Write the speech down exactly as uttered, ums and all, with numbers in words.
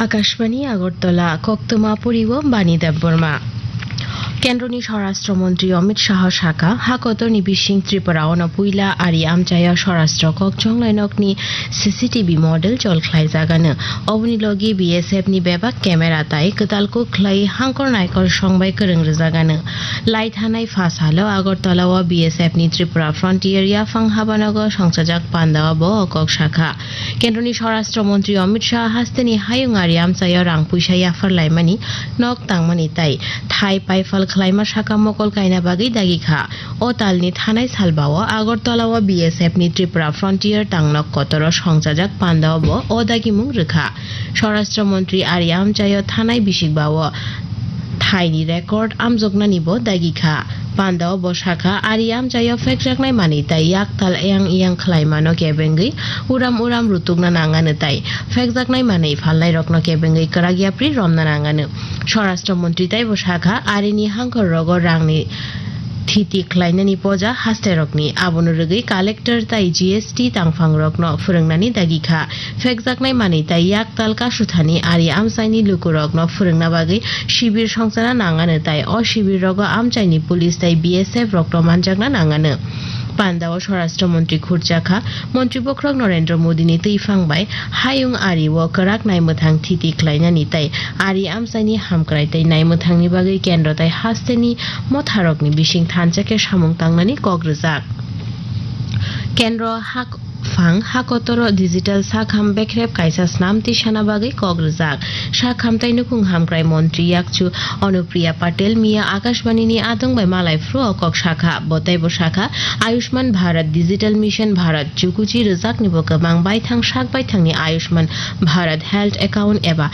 Akashbani Agartala, koktwma poriwo Bani Debbarma. Kendroni Swarashtra Montri Amit Shah sakha, hakotorni bising Tripura ono puila ari amchaio Swarashtra kok chonglai nokni C C T V model chol khlaijagano. Oboni logi B S F ni bebak camera tai kwtal kuk khlai hangkor naikor songbai kwrwng rwjagano. Lai thanai pha salo Agartala o B S F ni Tripura Frontier yaphang habanogo songchajak pandao bo o kok sakha. Kendroni Swarashtra Montri Amit Shah hasteni hayung ari amchaio rang puisa yaphar laimani, nok tangmani tai thai paifal khlaima saka mokol kaina bagwi dagi kha. O talni thanai salbao Agartala o B S F ni Tripura Frontier tangnok kotoro songchajak pandao bo o dagimung rwkha. Swarashtra Montri ari amchaio thanai bisikbao thaini record amjoknani bo dagi kha. Pandao bo sakha, ari amchaio phekjaknai manwi tai yaktal eyang eyang khlaimano kebengwi uram uram rutukna nangano tai phekjaknai manwi phalnairokno kebengwi kwrak yapri romna nangano. Swarashtra Montri taibo sakha, arini hangkhor rogo rangni thiti khlainani poja hasterokni, abono rwgwi collector tai G S T tangphangrokno phwrwngnani dagi kha. Phekjaknai manwi tai yaktal kasuthani ari amchaini lukurokno phwrwngna bagwi sibir songchana nangano tai o sibir rogo amchaini police tai B S F rokno manjakna nangano. Pandao Swarashtra Montri khurjakha, Montri bokhorok Narendra Modini twiphang bai hayung ari o kwrak naimwthang thiti khlainani tai ari amchaini hamkrai tai naimwthangni bagwi kendro tai hasteni motharokni bising thansa khe samung tangnani kok rwjak. Kendro hak phang hakotoro digital sakham bekrep kaisa snam tisana bagwi kok rwjak. Sakham tai nukhung hamkrai montri yakchu Anupriya Patel miya Akashbani ni adong bai malai phuru o kok sakha. Bo teibo sakha, Ayushman Bharat Digital Mission Bharat chukuchi rwjakni bo kwbang baithang sak baithangni Ayushman Bharat Health Account eba